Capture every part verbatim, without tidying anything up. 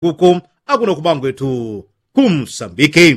kuko akuno kumangwetu kumsambiki.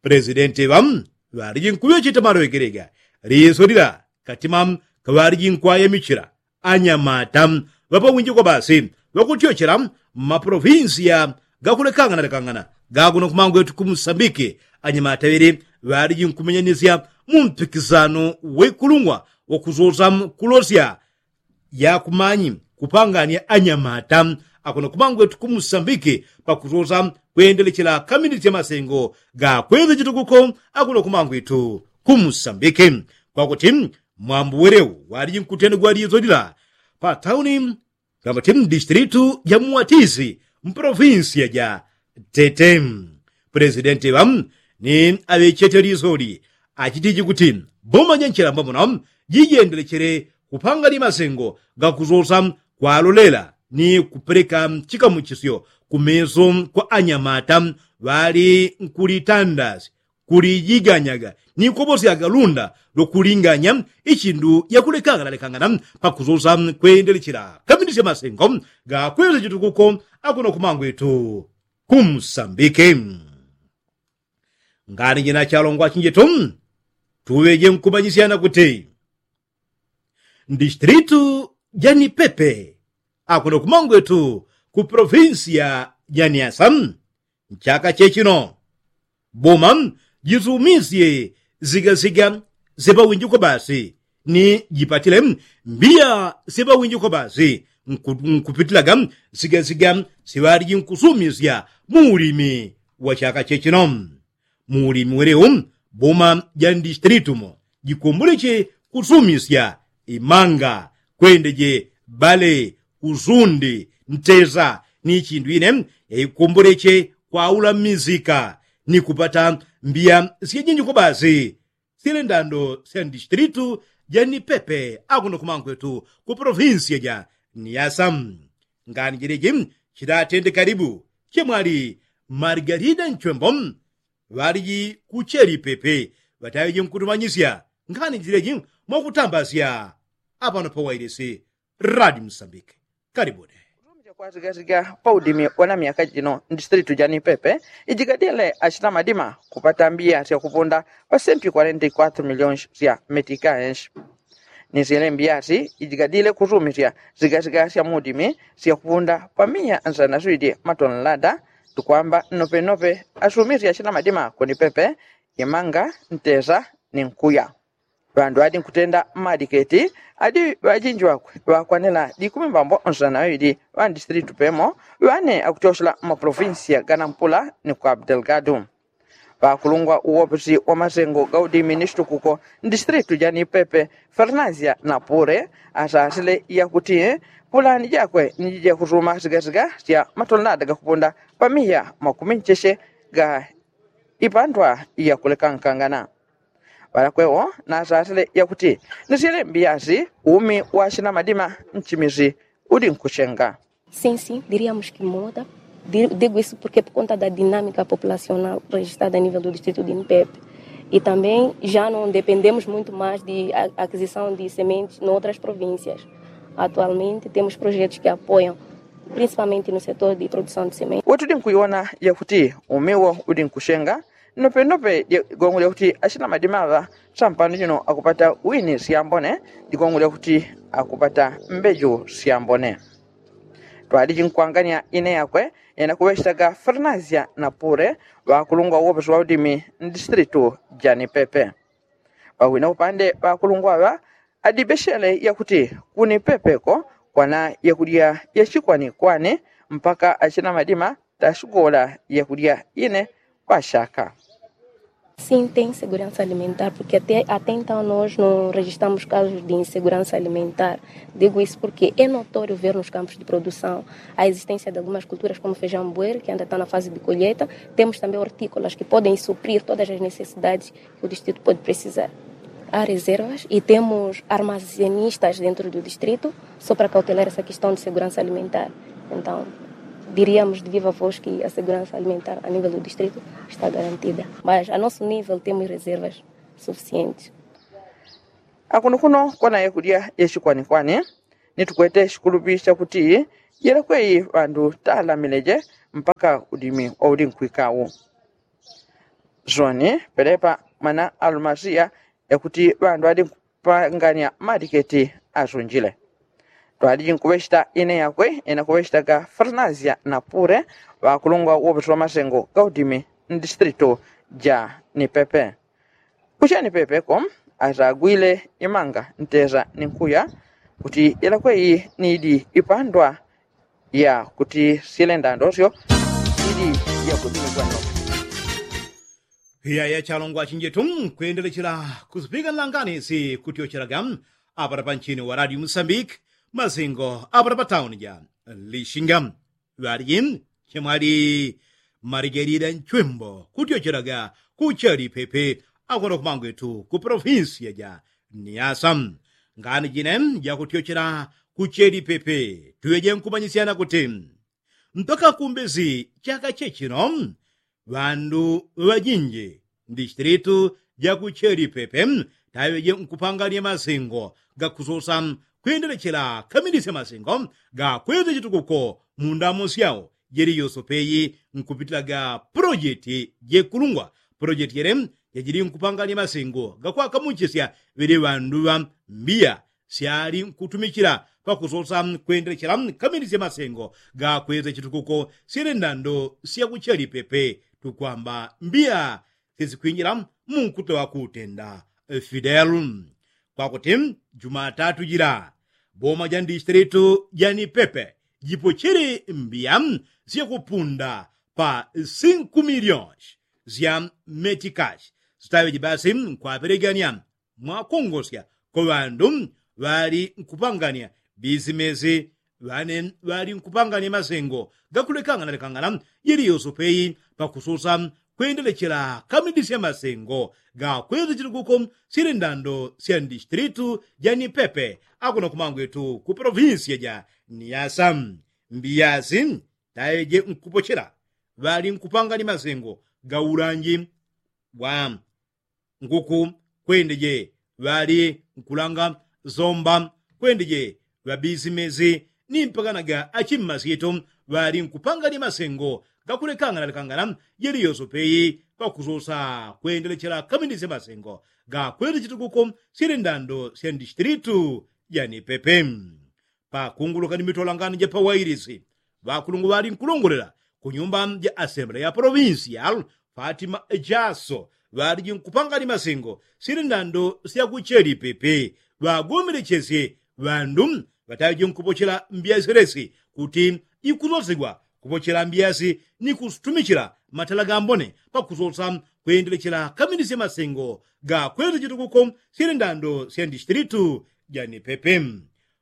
Pulesidenti ŵa ŵaliji nkuŵecheta malowekelega liso lila katima kaŵalijinkwaya michila anyamata ŵapawinjikwa basi ŵakutyochela mmapolovinsiya gakulekangana lekangana gakuno kumangwetu kumsambiki. Anyamata ŵele ŵalijinkumenyanisya mumpikisano wekulungwa wakusosa kulosya yakumanyi kupangania anyamata akuno kumangwetu kumsambiki pakusosa kwendelechela kaminisya masengo gakweza chitukuko akuno kumangwetu kumsambiki. Kwakuti mwambu welewu walijinkutendegwa liso lila patauni kamati mdistilitu ja muwatisi mpolovinsiya ja tete. Pulesidenti ŵa ni aŵechete lisoli achitiji kuti boma ja nchilamba muno jijendelechele kupanga limasengo gakusosa kwalolela ni kupeleka chikamuchisyo kumeso kwa anyamata ŵali nkulitandasi kulijiganyaga ni kobosyaga lunda lwakulinganya ichindu yakulekangana lekangana pakusosa kwendelechela kaminisya masengo gakweza chitukuko akuno kumangwetu kumsambiki. Ngani jina chalongwa chinjitu tuŵeje nkumanyisyana kuti mdistilitu ja nipepe akuno kumangwetu ku polovinsiya ja niasa nchaka chechino boma jisumisye zigasiga syapawinjiko basi ni jipatile mbiya syapawinjiko basi nkupitilaga zigasiga siŵaliji nkusumisya muulimi wa chaka chechino. Muulimi welewu boma ja ndistilitu mo jikomboleche kusumisya imanga kwendeje bale usundi ntesa ni chindu ine yaikomboleche kwaula mmisika ni kupata mbiya syajinjiko basi syele ndando sya ndistilitu ja nipepe akuno kumangwetu ku polovinsiya ja niasa. Ngani jileji chilatende kalibu chemwali margalida nchwembo ŵaliji kucheli pepe ŵataŵeji nkutumanyisya nkhani jileji mwakutambasya apano pawailisi radi msambiki. Kalibule. Kutumizya kwa zigazigya pa udimi wana myaka jino ndistilitu jani pepe ijigadile achina madima kupata mbiya syakupunda pa senti kwarenta i kwatru miliyoni sya metika enshi. Ni syele mbiyasi ijigadile kusumisya zigazigya sya mudimi syakupunda pa miya nsana swidi matonelada tukwamba nnopenope asumisya achina madima kuni pepe imanga ntesa ni nkuya. Ŵandu ŵadi nkutenda mmadiketi adi ŵajinji ŵakwe ŵakwanila dikumi mbambo nsana ŵaŵili ŵa ndistilitu pemo ŵane akutyoshela mmapolovinsiya ganampula ni kwa abdelgadu. Ŵakulungwa uwopesi wa masengo ga udimi ni chitukuko ndistilitu jani pepe fernazia na pule asasile yakuti pulani jakwe ni jija kusuma sigasiga sya matonelada gakupunda pa miya makumi ncheche ga ipandwa yakulekankangana. Ŵalakwewo nasasile yakuti ni syele mbiyasi umi wa achina madima nchimisi udi nkuchenga. Sin sin diríamos ki muda digo isu purke pur konta da dinamika populasional rejistada a nivel du distritu di npepe i tambem ja no dependemos muito mais di akizisao di sementes noutras provincias. Atualmente temos projetos ki apoiam principalmente no setor di produção di sementes. Wetudi nkuiwona yakuti umiwo udi nkuchenga nopenope digongo lyakuti achina madima ŵa sampano jino akupata wini syambone digongo lyakuti akupata mbeju syambone. Twaliji nkwangania ine yakwe yena kuŵechetaga fernazia na pule ŵakulungwa uwopesi wa udimi ndistilitu jani pepe. Pawina upande ŵakulungwa ŵa adibeshele yakuti kuni pepeko kwana yakudya yachikwanikwani mpaka achina madima tasugola yakudya ine kwa shaka. Sin tem seguransa alimentar purke até até entao nos no rejistamos kasus di inseguransa alimentar. Digo isu purke e notorio ver nos kampus di produsaon a existensia di algumas kulturas komu fejaon buer ki anda tao na fazi di kolyeta. Temos tambem ortikolas ki podem suprir todas as necessidades ki o distritu pode presizar. A rezervas i temos armazenistas dentru du distritu so para kautelar esa kistaon di seguransa alimentar. Entaon diriamos di viva vos ki a seguransa alimentar a nivel du distritu esta garantida. Mas a nosu nivel temos rezervas sufisientes. Akuno kuno kwana yakulya yachikwanikwani ni tukwete chikulupi chakuti Yelekweyi ŵandu talamileje mpaka udimi wauli nkwikawu. Zoni pelepa mwana alumasiya yakuti ŵandu ŵali nkupangania maliketi azunjile. Twaliji nkuŵechita ine yakwe ine kuŵechitaga farnazia na pure ŵakulungwa woŵetu ŵamasengo ga udimi mdistritu ja nipepe. Kucheni pepeko azagwile imanga nteza ni nkuya kuti ilakweyi nidi ipandwa ya kuti silenda ndosyo. Idi ya kuti ni kwendo. Iya ya chalongwa chinjitu kwendelechela kusipika nlangani si kutyochelaga apata pa nchini wa radio musambiki masingo apata pa tauni ja lishinga. Ŵaliji chemwali maligelile nchwimbo kutyochelaga kucheli pepe akwenda kumangwetu ku polofinsiya ja niyasa. Ngani jine jakutyochela kucheli pepe tuweje nkumanyisyana kuti mpaka kumbezi chaka chechino ŵandu ŵajinji ndishitilitu jakucheli pepe taweje nkupangania masingo gakusosa kwendelechela kamilisya masingo gakweza chitukuko mundamo syao jeli yosopeyi nkupitilaga pulojeti jekulungwa. Pulojeti jele jajili nkupangania masingo gakwakamuchisya ŵele ŵandu ŵa mbiya syali nkutumichila pakusosa kwendelechela kamilisya masingo gakweza chitukuko syele ndando syakucheli pepe tukwamba mbiya sisikwinjila munkutula wakutenda fidelu. Kwakuti jumatatu jila boma ja ndishitilitu ja nipepe jipochele mbiya syakupunda pa sinku milionshi sya metikashi sitaŵeje basi nkwapelegania mwakongosya kwa ŵandu ŵali nkupangania bisimesi ŵane ŵali nkupangania masengo gakulekangana lekangana jeli yosopeyi pakusosa kwendelechela kamidisya masengo gakweza chitukuko syele ndando sya ndishitilitu ja nipepe akuna kumangwetu ku polofinsiya ja niyasa. Mbiyasi taeje nkupochela ŵali nkupangania masengo ga ulanji wa nguku kwendeje ŵali nkulanga zomba kwendeje ŵabisimesi ni mpakanaga achimmasyito ŵali nkupangania masengo gakulekangana lekangana jeli yosopeyi pakusosa kwendelechela kamilisya masengo gakweza chitukuko syele ndando sya ndishitilitu ja nipepe. Pakunguluka ni mitolangano ja pawailisi ŵakulungwa ŵali nkulongolela kunyumba ja asembele ya polofinsial fatima jaso ŵaliji nkupangani masengo syele ndando syakucheli pepe ŵagomelechesye ŵandu ŵataŵeje nkupochela mbiya syelesi kuti ikusosigwa kupochela mbiyasi ni kutumichila matala gambone pakusosa kwendelechela kamilisye masengo gakweza chitukuko syele ndando sya ndishitilitu ja nipepe.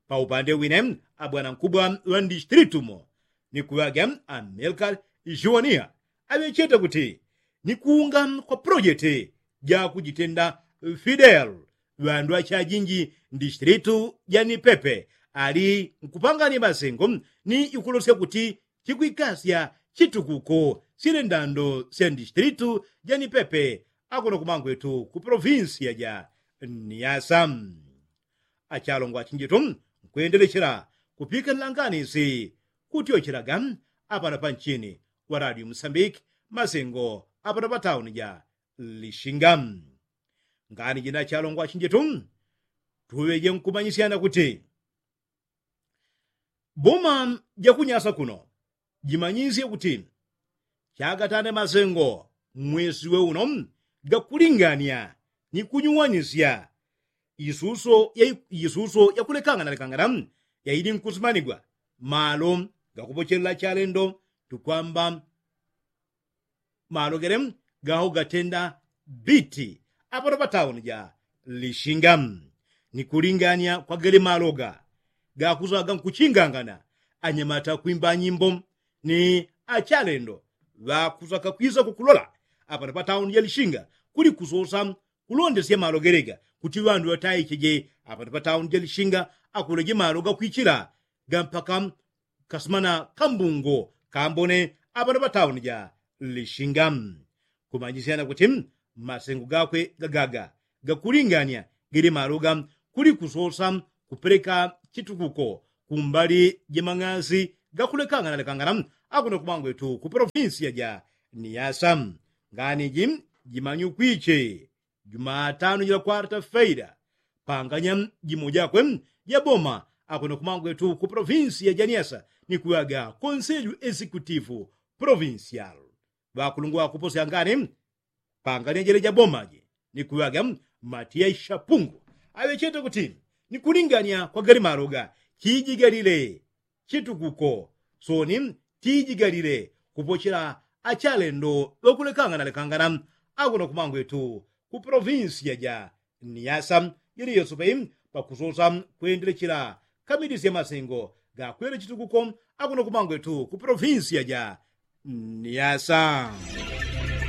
Paupande wine abwanankubwa ŵa ndishitilitu mo ni kuŵaga amelika juwaniya aŵecheta kuti ni kuunga kwa pulojeti jakujitenda fidelu ŵandu achajinji ndishitilitu ja nipepe ali nkupangania masengo ni ikulosya kuti chikwikasya chitukuko syele ndando sya ndishitilitu ja nipepe akuna kumangwetu ku polofinsiya ja niyasa. Achalongwa achinjitu nkwendelechela kupika nlangani si kutyochelaga apana pa nchini wa radio musambiki masengo apana pa tauni ja lishinga. Ngani jina achalongwa achinjitu tuŵeje nkumanyisyana kuti boma jakunyasa kuno jimanyisye kuti chagatane masengo mwesi we uno gakulingania ni kunyuwanisya isuso ya isuso yakulekangana lekangana yaili nkusimanigwa malo gakupochelela chalendo tukwamba malo gele gaho gatenda biti apano pa tauni ja lishinga ni kulingania kwa gele malo ga gakusaga nkuchingangana anyamata kwimba nyimbo ni achalendo ŵakusaka kwisa kukulola apano pa tauni ja lishinga kuli kusosa kulondesya malo gele ga kuti ŵandu ŵataicheje apano pa tauni ja lishinga akuleje malo gakwichila ga mpaka kasumana kambungo kambone apano pa tauni ja lishinga. Kumanyisyana kuti masengo gakwe gagaga gakulingania gele malo ga kuli kusosa kupeleka chitukuko kumbali ja mang'asi gakulekangana lekangana akuno kumangwetu ku polofinsiya ja niyasa. Ngani ji jimanyukwiche jumatano jila kwarta feila panganya jimo jakwe ja boma akuno kumangwetu ku polofinsiya ja niyasa ni kuwaga konseju esikutifu polofinsial. Ŵakulungwa kuposya ngani pangania jele ja boma ji ni kuŵaga matiya ishapungu aŵechete kuti ni kulingania kwa galimaloga chijigalile chitukuko soni tijigalile kupochela achalendo ŵakulekangana lekangana akuno kumangwetu ku polofinsiya ja niyasa jili yosope pakusosa kwendelechela kamidisya masengo gakwele chitukuko akuno kumangwetu ku polofinsiya ja niyasa.